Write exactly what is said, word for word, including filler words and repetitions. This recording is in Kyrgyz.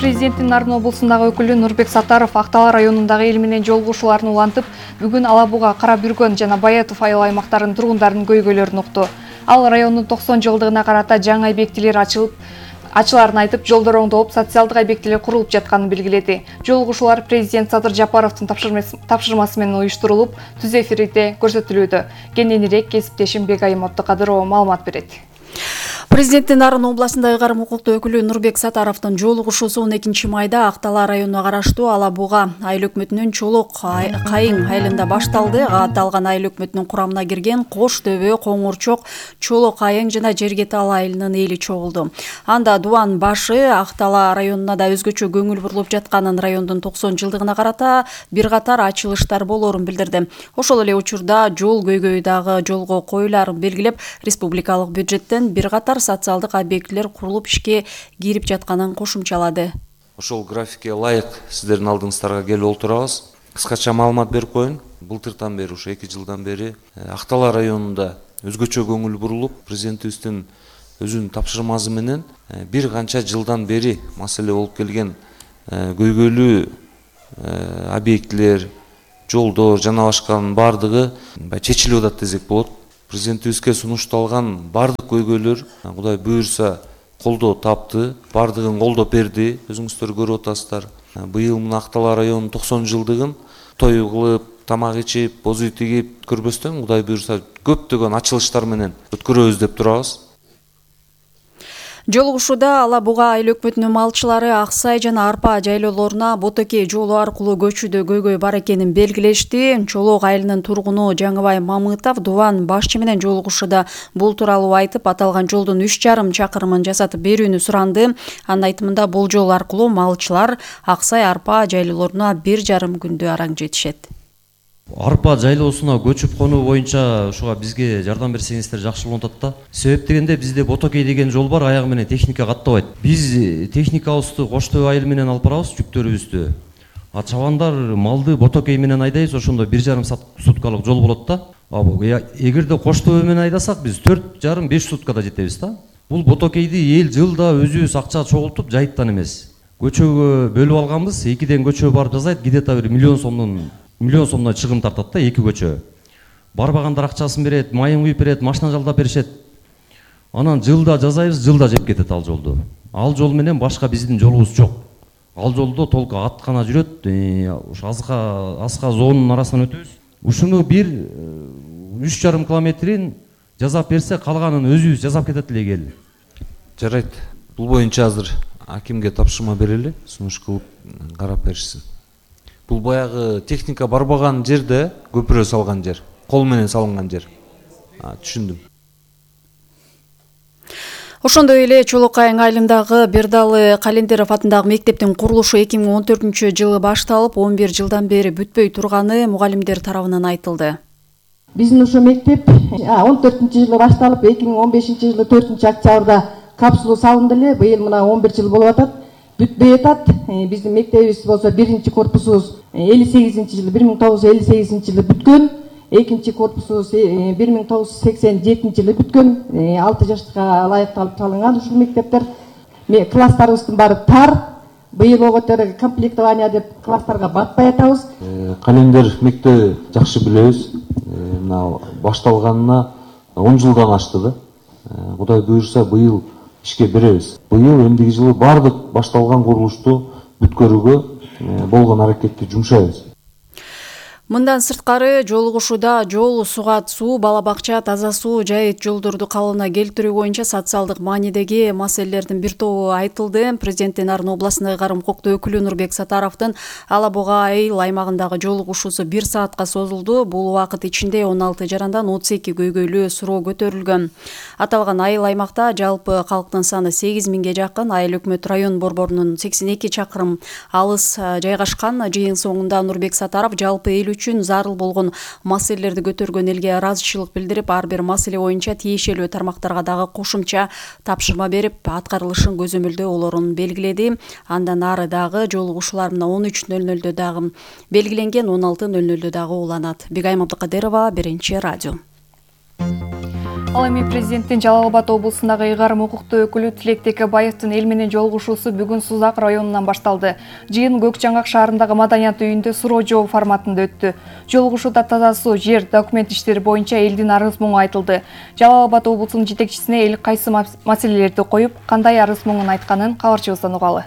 президенттин Нарын облусундагы өкүлү Нурбек Сатаров Актала районундагы эл менен жолугушууларын улантып, бүгүн Ала Буга, Кара Бүргөн жана Баятов айыл аймактарынын тургундарынын көйгөйлөрүн укту. Ал райондун токсон жылдыгына карата жаңы объектилер ачылып, ачыларын айтып, жолдор оңдолуп, социалдык объектилер курулуп жатканын белгиледи. Жолугушуулар президент Садыр Жапаровдун тапшырмасы менен уюштурулуп, түз эфирде көрсөтүлүүдө. Кененирээк кесиптешим Бегайым Оттокадырова маалымат берет. Президенттин Нарын областындагы карым укуктуу өкүлү Нурбек Сатаровдун жолугушуусу он экинчи майда Актала районуна караштуу Ала Буга айыл өкмөтүнүн Чолок Кайың айылында башталды. Аталган айыл өкмөтүнүн курамына кирген Кош Дөбө, Коңурчок, Чолок Кайың жана Жергетал айылынын эли чогулду. Анда дубан башы Актала районуна да өзгөчө көңүл бурулуп жатканын, райондун токсон жылдыгына карата бир катар ачылыштар болоорун билдирди. Ошол эле учурда жол көйгөйү дагы жолго коюларын белгилеп, республикалык бюджеттен бир катар социалдык объектилер курулуп ишке кирип жатканын кошумчалады. Ошол графикке ылайык сиздердин алдыңыздарга келип отурабыз. Кыскача маалымат берип коеюн. Былтыртан бери, ушу эки жылдан бери Актала районунда өзгөчө көңүл бурулуп, президентибиздин өзүнүн тапшырмасы менен бир канча жылдан бери маселе болуп келген көйгөйлүү объектилер, жолдор жана башканын баардыгы чечилип атат десек болот. Президентибизге сунушталган бардык көйгөйлөр Кудай буюрса колдоо тапты, бардыгын колдоп берди. Өзүңүздөр көрүп атасыздар. Быйыл мына Актала районунун токсон жылдыгын той кылып, тамак ичип, боз үй тигип көрбөстөн Кудай буюрса көптөгөн ачылыштар менен өткөрөбүз деп турабыз. Жолугушууда Ала Буга айыл өкмөтүнүн малчылары Аксай жана Арпа жайлоолоруна Ботокей жолу аркылуу көчүүдө көйгөй бар экенин белгилешти. Чолок айылынын тургуну Жаңыбай Мамытов дубан башчы менен жолугушууда бул тууралуу айтып, аталган жолдун үч жарым чакырымын жасатып берүүнү суранды. Анын айтымында бул жол аркылуу малчылар Аксай Арпа жайлоолоруна бир жарым күндө араң жетишет. Арпа жайлоосуна көчүп конуу боюнча ушуга бизге жардам берсеңиздер жакшы болот да. Себеп дегенде бизде Ботокей деген жол бар, аягы менен техника каттабайт. Биз техникабызды Кош Дөбө айылы менен алып барабыз, жүктөрүбүздү. А чабандар малды Ботокей менен айдайбыз, ошондо бир жарым суткалык жол болот да. Эгерде Кош Дөбө менен айдасак, биз төрт жарым беш суткада жетебиз да. Бул Ботокейди эл жылда өзүбүз акча чогултуп жайыттан эмес. Көчөгө бөлүп алганбыз, экиден көчө барып жасайт, где-то бир миллион сомдон миллион сомдон чыгым тартат да эки көчө. Барбагандар акчасын берет, майын куюп берет, машина жалдап беришет. Анан жылда жасайбыз, жылда жеп кетет ал жолду. Ал жол менен башка биздин жолубуз жок. Ал жолдо толку ат гана жүрөт, ушу азга аска зоонун арасынан өтөбүз. Ушуну бир үч жарым километрин жасап берсе, калганын өзүбүз жасап кетет элек эл. Жарайт. Бул боюнча азыр акимге тапшырма берели, сунуш кылып карап беришсин. Бул баягы техника барбаган жерде көпүрө салган жер, кол менен салынган жер. Түшүндүм. Ошондой эле Чолок Кайың айылындагы Бердалы Календеров атындагы мектептин курулушу эки миң он төртүнчү жылы башталып, он бир жылдан бери бүтпөй турганы мугалимдер тарабынан айтылды. Биздин ошо мектеп он төртүнчү жылы башталып, эки миң он бешинчи жылы төртүнчү октябрда капсула салынды эле. Быйыл мына он бир жыл болуп атат. Бүтпөй атат. Биздин мектебибиз болсо биринчи корпусубуз элүү сегизинчи жылы бир миң тогуз жүз элүү сегизинчи жылы бүткөн, экинчи корпусубуз бир миң тогуз жүз сексен жетинчи жылы бүткөн. алты жаштыкка ылайыкталып салынган ушул мектептер. Класстарыбыздын баары тар. Быйыл оготер комплектование деп класстарга батпай атабыз. Календер мектеби жакшы билебиз. Мына башталганына он жылдан ашты да. Кудай буюрса быйыл ишке беребиз. Быйыл эмдиги жылы бардык башталган курулушту бүткөрүүгө болгон аракетти жумшайбыз. Мындан сырткары жолугушууда жол, сугат суу, бала бакча, таза суу, жайыт жолдорду калыбына келтирүү боюнча социалдык маанидеги маселелердин бир тобу айтылды. Президенттин Нарын областындагы карым укуктуу өкүлү Нурбек Сатаровдун Ала Буга айыл аймагындагы жолугушуусу бир саатка созулду. Бул убакыт ичинде он алты жарандан отуз эки көйгөйлүү суроо көтөрүлгөн. Аталган айыл аймакта жалпы калктын саны сегиз миңге жакын. Айыл өкмөт район борборунун сексен эки чакырым алыс жайгашкан. Жыйын соңунда Нурбек Сатаров жалпы эл үчүн зарыл болгон маселелерди көтөргөн элге ыраазычылык билдирип, ар бир маселе боюнча тиешелүү тармактарга дагы кошумча тапшырма берип, аткарылышын көзөмөлдөө болоорун белгиледи. Андан ары дагы жолугушуулар мына он үч нөл нөлдө дагы белгиленген, он алты нөл нөлдө дагы уланат. Бегайым Абдыкадырова, Биринчи радио. Ал эми президенттин Жалал Абад облусундагы ыйгарым укуктуу өкүлү Тилек Текебаевдин эл менен жолугушуусу бүгүн Сузак районунан башталды. Жыйын Көк Жаңгак шаарындагы маданият үйүндө суроо жооп форматында өттү. Жолугушууда таза суу, жер, документ иштери боюнча элдин арыз муңу айтылды. Жалал Абад облусунун жетекчисине эл кайсы маселелерди коюп, кандай арыз муңун айтканын кабарчыбыздан угалы.